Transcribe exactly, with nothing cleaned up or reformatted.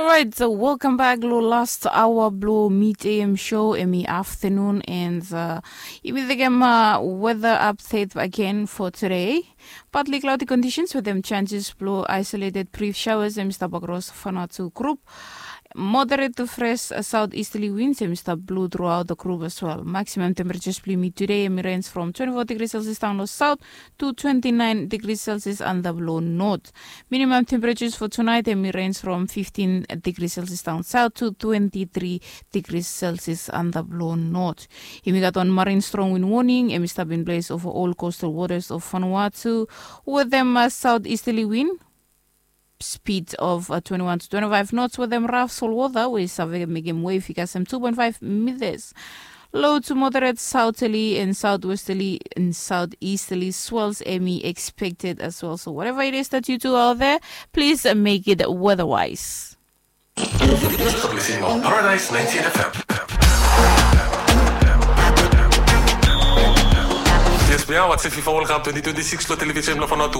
Right, so welcome back lo last hour blo Mid A M show, emi afternoon, and uh, imi tekem uh, weather update again for today. Partly cloudy conditions with them chances blo isolated brief showers, emi stap across Vanuatu group. Moderate to fresh uh, southeasterly winds, emi stap blow throughout the group as well. Maximum temperatures blo imi today, emi range from twenty-four degrees Celsius down lo south to twenty-nine degrees Celsius under blo north. Minimum temperatures for tonight, emi range from fifteen degrees Celsius down south to twenty-three degrees Celsius under blo north. Imi gat wan marine strong wind warning, emi stap in place over all coastal waters of Vanuatu, with them uh, southeasterly wind speed of uh, twenty-one to twenty-five knots, with them rough salt water, we save mekem wave i kasem two point five meters. Low to moderate southerly and southwesterly and southeasterly swells, emi expected as well. So whatever it is that you do out there, please uh, make it weatherwise. Paradise ninety-eight F M. Yes, we are watching FIFA World Cup twenty twenty-six lo television lo Vanuatu.